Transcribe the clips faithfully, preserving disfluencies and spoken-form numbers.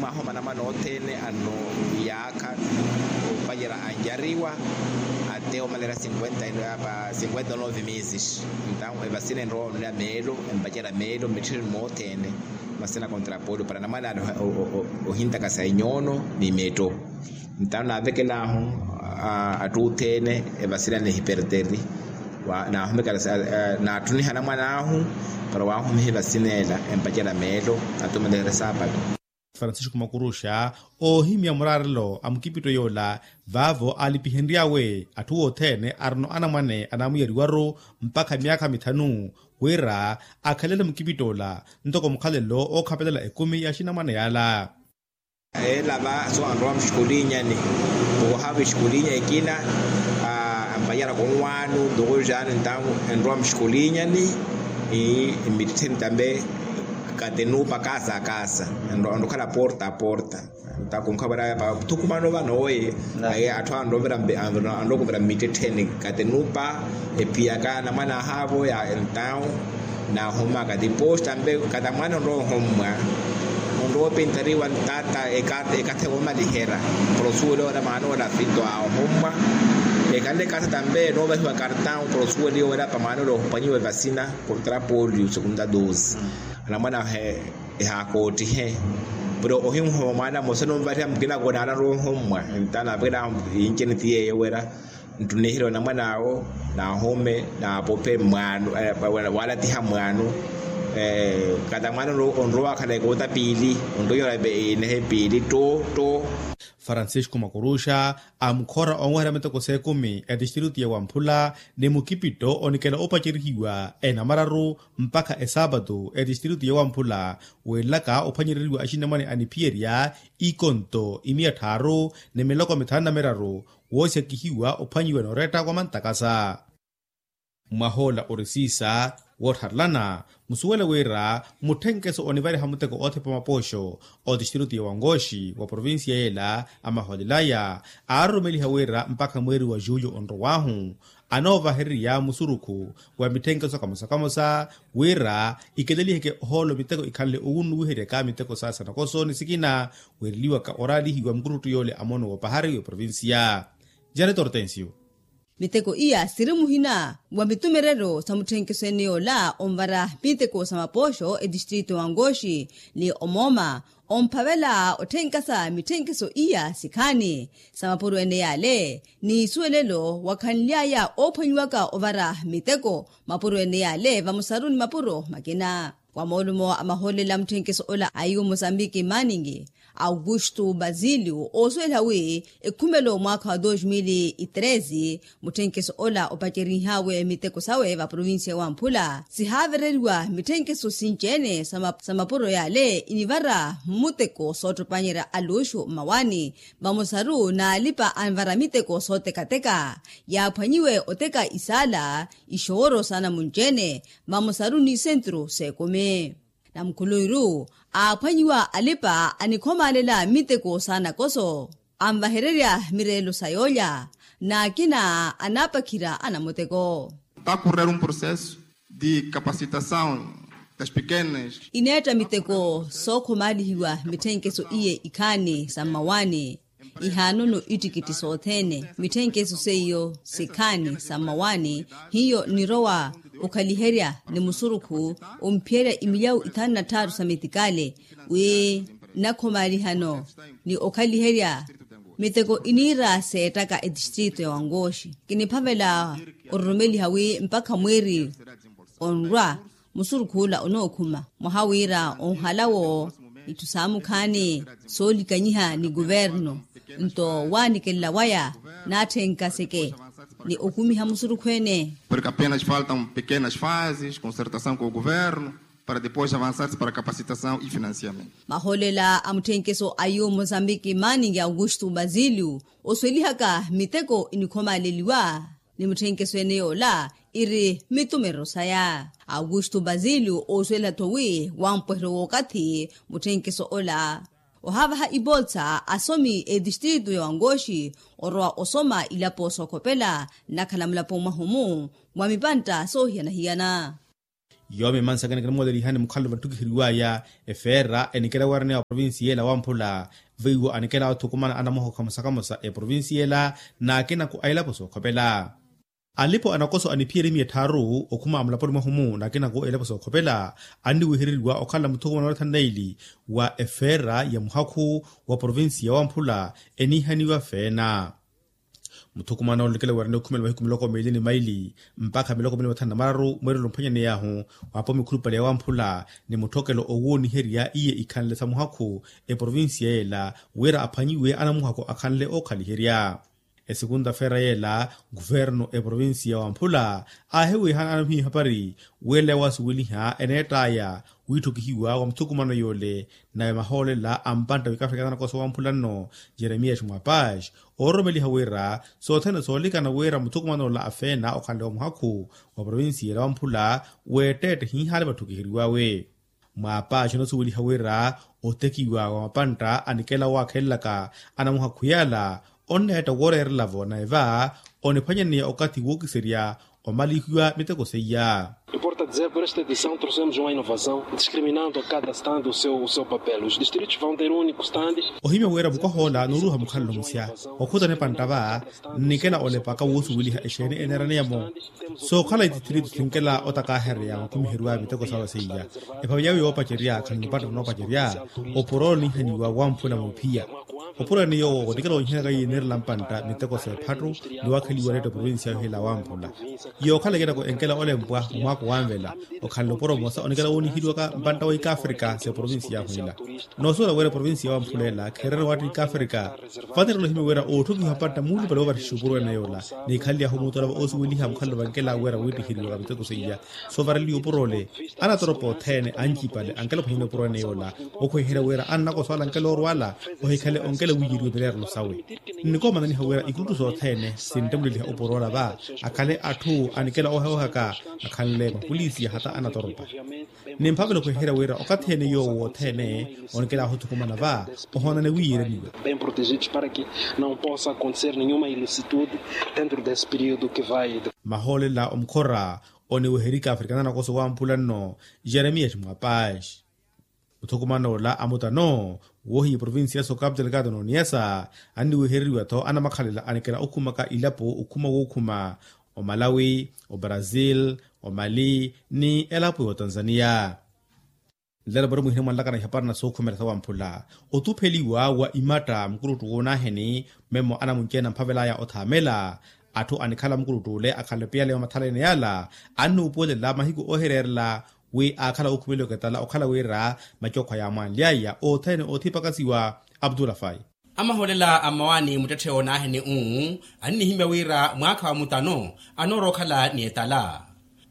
Mwaha omanamana othene ano yaakha opacerya anyariwa, ate omalera cinquenta cinquenta nove meses. Entaw evasina enrowa onira meelo empacerya meelo mitthironi mothene. Masina kontra polo para namana ohintaka sa enyono ni metto. Entaw navekelahu attuthene evasina nihiperteri. Naatthuniha namwan'ahu para wahumiha evasina ela empacerya meelo. Ate omalera sapato. Francisco makuruxa oohimya muraarelo a mukipitto yoola vaavo aalipihenry'awe atthu othene arino anamwane anaamuyariwaru mpakha myaakha mithanu, wira akhalele mukipitt'ola ntoko mukhalelo ookhapelela ekumi ya axinamwane yaala. Ela va so anrowa muxikulinyani. Ohaava exikulinya ekina ampanyara konwaanu ntoko jaani ntawu enrowa muxikulinyani. Mmittettheni tambe katenupa kasa kasa. Enrokhala porta porta. Ntakunkha vara pa thukumano vano oye. Aye atthu anrokuvira mmittettheni katenupa. Epiyaka namwana ahaavo ya entawu. Naahumaka tiposta mpe katamwana onrowa ohommwa. Onrowa opintariwa ntata ekathi omalihera. Para osuwela ora maana ola fito ahommwa. Ekhanle kathata mpe noovahiwa kartawu para osuwela ora pamaana ola ophwanyiwa evasina. Kontra polio segunda dose. Anamwana ahe ehakoottihe. Pero ohinhoma mwana mose nonvariha mukina konaala noohommwa. Ntana apwela. Inceneti yeyo wera. Nttuniherya onamwan'awo. Naahume naapope mwaanu. Waalatiha mwaanu. Kata mwaanu onrowa wakhala ekoota piili. Onrowa inehe piili tto tto. Francisco makuruxa amukhora onweherya miteko s'ekumi etistritu ya wamphula ni mukipitto onikela opacerihiwa enamararu mpakha esaapatu etistritu ya wamphula. Weelaka ophwanyereriwa axinamwane aniphiyerya ikonto imiya tthaaru ni miloko mithanu na miraru. Woosyakihiwa ophwanyiwa nooretta wa mantakasa. Mwahoola ori siisa woottharelana musuwela wira mutthenkeso onivariha muteko oothepa mapooxo otistritu ya wangoxi wa provincia yeela amahoolelaya aaroromeliha wira mpakha mweeri wa julyo onrowaahu anoovahererya musurukhu wa mitthenkeso kamosa kamosa wira ikeleliheke ohoolo miteko ikhanle owunnuwiheryaka miteko sa sanakoso ni sikina. Weereliwaka oraalihiwa mukuruttu yoole amono wa opahari wa provincia. Janet hortensio. Miteko iya siri muhina wa mitumereryo sa mutthenkeso ene yoola onvara miteko sa mapooxo etistritu wangoxi ni omooma omphavela otthenka sa mitthenkeso iya sikhaani sa mapuro ene yaale ni isuwelelo wakhanly'aya oophwanyiwaka ovara miteko mapuro ene yaale vamosaru ni mapuro makina. Wa moolumo a mahoolela a mutthenkeso ola a yu mosambiki manning augusto basilio oosuweliha wi ekhumelo mwaakha wa dos mil e treze mutthenkeso ola opacerenhaawe miteko sawe va provincia ya wamphula sihaavereriwa mitthenkeso sinci-ene sa mapuro yaale inivara mmuteko soottopanyerya aluxu mmawaani vamosaru n'alipa anvara miteko sootekateka yaaphwanyiwe oteka isaala ixooro sa namunci-ene vamosaru ni sentru s'ekumi. Namukhuluwiru aaphwanyiwa alipa anikhomaalela miteko sa nakoso anvahererya mireelo sa yoolya n'akina anaapakhira anamuteko. Takurrera un processo de capacitasaw das pequenas. Ineetta miteko sookhomaalihiwa mitthenkeso iye ikhaani sa mmawaani ihaanono ittikitthi sothene mitthenkeso seiyo sikhaani sa mmawaani hiyo nirowa okhaliherya ni musurukhu omphiyerya imilyawu ithanu na tthaaru sa mitikaale wi nnakhomalihano ni okhaliherya miteko iniira seettaka etistritu ya wangoxi kiniphavela ororomeliha wi mpakha mwiiri onrwa musurukhu ola onookhuma mwaha wira onhalawo itthu saamukhaani soolikanyiha ni kuvernu nto waanikelela waya naatthenka seke ni okumiha musurukhu ene. Porque apenas faltam pequenas fases concertasaw ku kuvernu para depois avansar-se para capacitasaw e financiamento. Mahoolela a mutthenkeso a yu mosambiki manning augusto basilio osuwelihaka miteko inikhomaaleliwa ni mutthenkeso ene yoola iri mitumerero saya. Augusto basilio oosuwela-tho wi wampweheryo w'okathi mutthenkeso ola ohaavaha ipolsa asomi etistritu ya wangoxi orowa osoma ilapo sookhopela nnakhala mulapo mwahumu mwa mipantta soohiyana-hiyana. Yoomi emansa akina kinamoolelihani mukhalelo vantthukiheryiwaya efeera enikela weeraneya wa provincia ela wamphula. Veiwo anikela othukumana anamuhakhu kamosa kamosa eprovincia ela n'akinaku a elapo sookhopela. Alipo anakoso aniphiyerye miya etthaaru okhuma amulaponi mwahu-mu n'akinaku a elapo sookhopela anniwehereriwa okhalela muthukumana wa rathani na ili wa efeera ya muhakhu wa provincia wamphula eniihaniwa feena. Muthukumana oolekela weerani okhumela mahiku miloko miili ni maili mpakha miloko miili mathanu na mararu mweerelo omphwanyaney'ahu waapo mikhulupale ya wamphula ni mutthokelo owooniherya iye ikhanle sa muhakhu eprovincia yeela wira aphwanyiwe anamuhakhu akhanle ookhaliherya. Esikunta feera yeela kuvernu eprovincia wamphula aahiwihana anamuhiya ehapari wira ela waasuweliha eneett'aya wiitthukihiwa wa muthukumano yoole. Nawe mahoolela a mpantta wikaafrika anakoso wamphula nno jeremias mwapash oororomeliha wira sothene soolikana wira muthukuman'ola afeena okhanle wa muhakhu wa provincia ela wamphula w'etteette hiihaale vatthukiheriwawe. Mwapash onasuweliha wira otekiwa wa mapantta anikela owaakhelelaka anamuhakhu yaala onneetta wooreerela-vo nawe va oniphwanyaneya okathi wookiserya omalihiwa miteko seiya. Importa dizer por esta edição trouxemos uma inovação discriminando a cada estando o seu papel os distritos vão ter um único estande. Ohimya wira mukwah'ola nooruuha mukhalelo musya okhutana epantta va nnikela olepaka woosuweliha exeeni eneeraneyamo sookhala ititirito sinkela otakaahereya mukhumiheryo a miteko sawe seiya. Ephavi yawe yoopacerya khani mupantta noopacerya opuro oniihaniwa wamphula muphiya. Opuro ene yoowo onikela onyihanaka iye enerela mpantta miteko s'ephattu ni waakheliwa neetta provincia yohila wamphula. Yookhala ekinako enkela olempwa mumwaako wanvela okhanle opuro mmosa onikela wooniheliwaka mpantta wa ikaafrika s'eprovincia yahu ila. Noosuwela wira eprovincia yawamphula ela kheererya waatta ikaafrika. Vanirela ohimya wira ootthukihiwa mpantta muulupale woovarixisha opuro ene yoola niikhanly'ahu muutolava oosuweliha mukhalelo vankela wira wiittiheriwaka miteko seiya. Soovareliwa opuro ole anatoropa othene ancipale ankela ophwanyani opuro ene yoola okhweherya wira annakoso ala ankela orwala ohikhale onkela wiiyeriwe mileerelo sawe. Nnikoomana niha wira ikuttu sothene sinttemmuleliha opuro ola va akhale atthu anikela oheohaka akhanle mapolisi hata anatoropa. Nimphavela okhweherya wira okathi ene yoowo wothene onikela ahuthukumana va ohoonane wiiyereniwa. Bem protegidos para que não possa acontecer nenhuma ilicitude dentro desse período que vai. Mahoolela omukhora oniweherika afrikana anakoso wamphula nno jeremias mwapash. Muthukuman'ola amutano woohiya eprovincia ya sokapitelekaato n'oniyasa anniwehereriwa-tho anamakhalela anikela okhumaka ilapo okhuma wookhuma omalawi, obrazil, omali ni elapo y'otanzaniya. Nlelo pari mwihina mwanlakana ihapari na sookhumela sawamphula otupheliwa wa imatta mukuluttu woonaaheni. Memo anamunci-ene amphavel'aya othaamela atthu anikhala mukuluttu ole akhanle piyale wa mathalene yala annuupuwelela mahiku oohireerela wi aakhala ookhumeliwaka etala okhala wira macookhwa yaamwanly'aya othene oothipakasiwa. Abdulafai. Amahoolela a mmawaani muttetthe oonaaheni uu annihimya wira mwaakha wa mutano anoorowa okhala ni etala.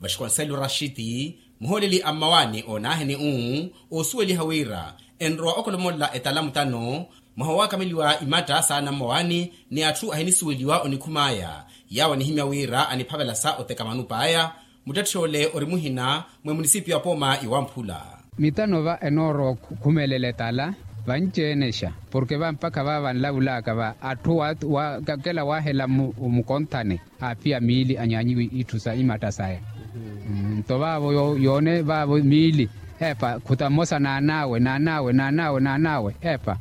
Vaxikonsello rashiti muhooleli a mmawaani oonaaheni uu oosuweliha wira enrowa okholomolela etala mutano mwaha owaakameliwa imatta saana mmawaani ni atthu ahinisuweliwa onikhum'aya yaawo anihimya wira aniphavela sa oteka manup'aya. Muttetthe ole ori muhina mwa emunisipiyo ya pooma yowamphula. Mitano va enoorowa okhumelela etala vanci-enexa porke va mpakha va vanlavulaka va atthu waakela waahela mukonthane aaphiya miili anyaanyiwe itthu sa imatta saya. Nto vaavo yoone vaavo miili epa khuta mmosa naan'awe naan'awe naan'awe naan'awe epa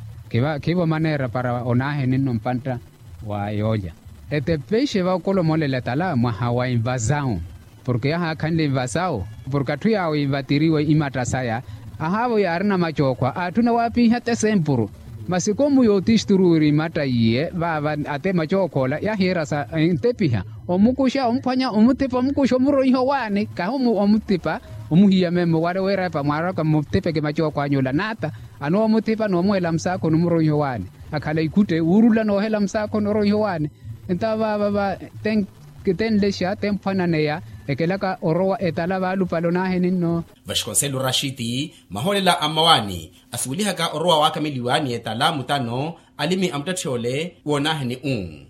khivo maneera para onaaheni nno mpantta wa yoolya. Etepeixe va okolomolela etala mwaha wa invasawu porke yahaakhanle invasawu porke atthu yaawo invatiriwe imatta saya ahaavo yaarina macookhwa aatthuna waapinha te sempuru. Masi komu yootisturu wiri imatta iye vaava ate macookhwa ola yahiira sa entepiha omukuxa omphwanya omuthipa omukuxa omuroiha owaani kahi omuthipa omuhiya memo wale wira epa mwaaraka mmutipeke macookhwa anyu ola naata anoowa omuthipa noomuwela musaakhoni omuroiha owaani akhala ikhutte wuurula noohela musaakhoni oroiha owaani. Nto vaava va tenlexa temphwananeya ekelaka orowa etala vaalupale onaaheni nno. Vaxikonsello rashiti mahoolela a mmawaani asuwelihaka orowa waakameliwa ni etala mutano alimi a muttetthe ole woonaaheni uu.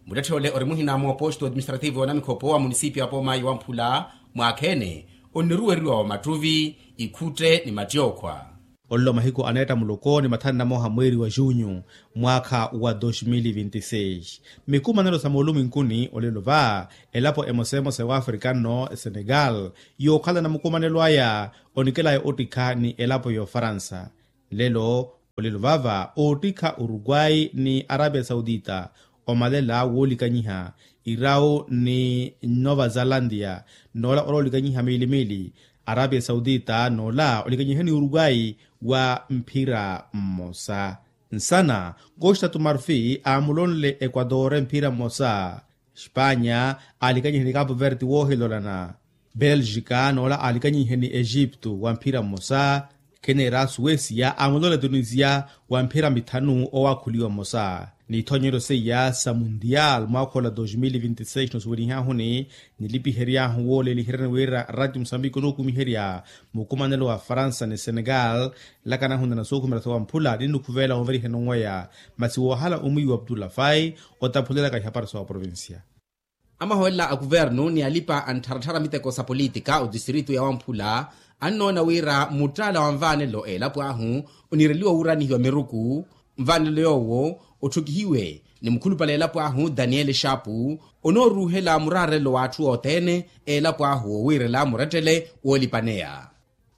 Muttetthe ole ori muhina mwa oposto administrativo wa namikhopo wa munisipiyo ya pooma yowamphula mwaakha-ene onniruweriwa wa mattuvi ikhutte ni mattiyookhwa. Olelo mahiku aneetta muloko ni mathanu na mooha mweeri wa junyu mwaakha wa dos mil vinti seis. Mikumanelo sa mooluminkuni olelo va elapo emosa emosa ewafrika nno esenegal yookhalana mukumanelo aya onikelaya ottikha ni elapo y'ofaransa. Lelo olelo vava oottikha urukwai ni arapia sautita omalela woolikanyiha irau ni nova zalantia. Noola ora olikanyiha miili miili arapia sautita noola olikanyiha ni urukwai wa mphira mmosa. Nsana costa tu marfi aamulonle equator mphira mmosa. Spanya aalikanyihe ni capu verde woohilolana. Belgica noola aalikanyihe ni egipto wa mphira mmosa. Khenera suecia aamulonle tunisia wa mphira mithanu owaakhuliwa mmosa. N'ithonyeryo seiya sa mundial mwaakhola dos mil vinti seis nosuwelihaahuni nilipiheryaahu wooleliheryani wira rati musambiki onookumiherya mukumanelo wa faransa ni senegal. Nlakana ahunana sookhumela sowamphula ninukhuveela wonveriheni onweya. Masi woohala omwiiwa abdullah fai otaphulelaka ihapari sowa provincia. Amahoolela a kuvernu ni alipa-anttharatthara miteko sa politika otistritu ya wamphula annoona wira muttaala wa nvaanelo elapo ahu oniireliwa wuuranihiwa miruku. Nvaanelo yoowo otthukihiwe ni mukhulupale elapo ahu daniel shapu onooruuhela muraarelo w'atthu othene elapo ahu wowiirela murettele woolipaneya.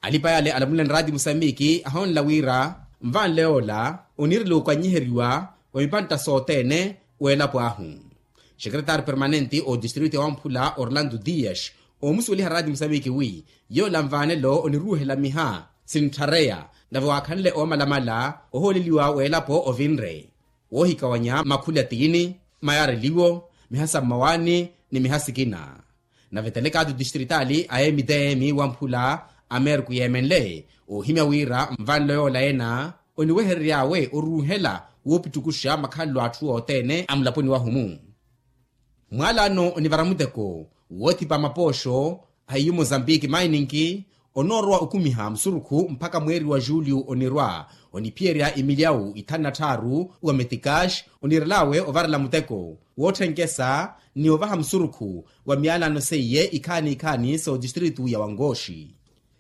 Alipa yale alamuleni rati musambiki ahoonela wira nvanle yoola oniirela okanyiheriwa wa mipantta sothene w'elapo ahu. Xekeretari permanente otistritu ya wamphula orlando dias oomusuweliha rati musambiki wi yoola nvanelo oniruuhela miha sintthareya nave waakhanle oomalamala ohooleliwa w'elapo ovinre woohikawanya makhuli a tiini mayareliwo miha sa mmawaani ni miha sikina. Nave telekaati otistritali a emitm wamphula amerku yeemenle oohimya wira nvanlo yoola ena oniweherery'awe oruuhela woopittukuxa makhalelo a atthu othene a mulaponi wahu-mu. Mwaalano onivara muteko woothipa mapooxo a hiyu mozambique mining onoorowa okumiha musurukhu mpakha mweeri wa julio onirwa oniphiyerya imilyawu ithanu na tthaaru wa metikash oniirel'awe ovarela muteko wootthenkhesa ni ovaha musurukhu wa miyalano seiye ikhaani ikhaani sa otistritu ya wangoxi.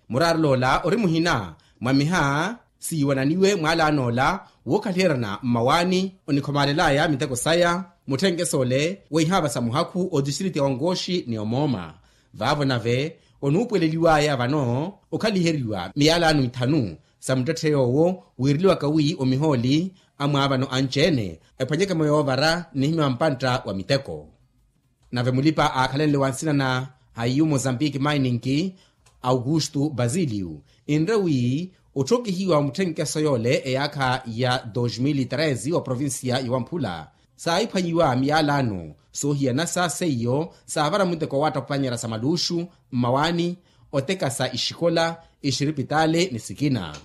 Muraarelo ola ori muhina mwa miha siiwananiwe mwaalano ola wookhaliheryana mmawaani onikhomaalelaya miteko saya mutthenkeso ole weihaava sa muhakhu otistritu ya wangoxi ni omooma. Vaavo nave onuupweleliwaya vano okhaliheriwa miyalano ithanu sa muttetthe yoowo wiireliwaka wi omihooli amwaavano anci-ene ephwanyeke-mo yoovara nnihimya wa mpantta wa miteko. Nave mulipa aakhalenle wa nsina na hayu mozambique mining augusto basilio enre wi otthokihiwa wa mutthenkeso yoole eyaakha ya dos mil treze wa provincia ya wamphula saahiphwanyiwa miyalano soohiyanasa seiyo saavara muteko wa wattaphwanyerya sa maluxu mmawaani otekasa ixikola ixiripitali ni sikina.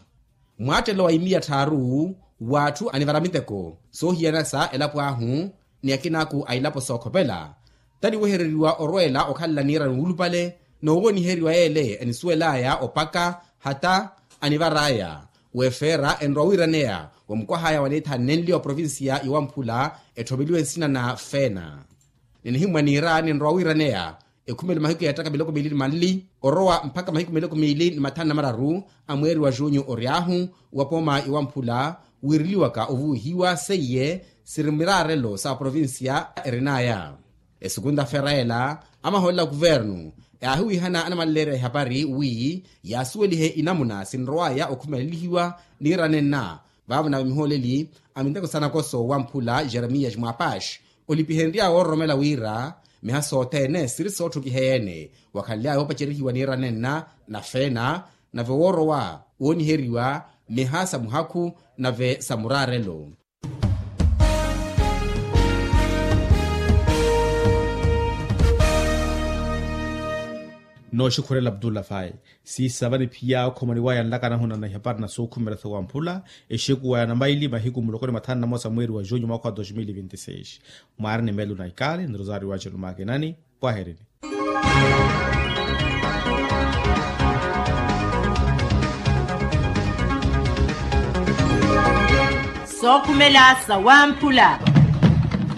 Mwaattelo wa imiya tthaaru w'atthu anivara miteko soohiyanasa elapo ahu ni akinaaku a ilapo sookhopela taniwehereriwa orweela okhalela niirani wuulupale noowooniheriwa yeele enisuwel'aya opaka hata anivar'aya wefeera enrowa wiiraneya wa mukwah'aya wa neethaani nenli wa provincia ya wamphula etthoveliwe nsina na feena. Ninihimmwa niira ninrowa wiiraneya ekhumelo mahiku yeettaka miloko miili ni manli orowa mpakha mahiku miloko miili ni mathanu na mararu a mweeri wa junyu ory'ahu wa pooma ya wamphula wiireliwaka ovuwihiwa seiye siri miraarelo sa provincia erin'aya. Esukunta feera ela amahoolela kuvernu yaahiwihana anamanleerya ihapari wi yaasuwelihe inamuna sinrow'aya okhumelelihiwa niira nenna. Vaavo nave mihooleli a miteko sa nakoso wamphula jeremias mwapash olipihenrya woororomela wira miha sothene siri sootthukiheya-ene wakhanly'aya woopacerihiwa niira nenna na feena nave woorowa wooniheriwa miha sa muhakhu nave sa muraarelo. Nooxikhurela abdullah faye siisava ni phiya okhomaniwaya nlakana ahunana ihapari na sookhumela sowamphula exekuwa ya namaili mahiku muloko ni mathanu na mosa mweeri wa junyu mwaakha wa dos mil vinti seis. Mwaari ni melu na ikali ni rosario wa celumaakinani. Pwaherini. Sookhumela sawamphula.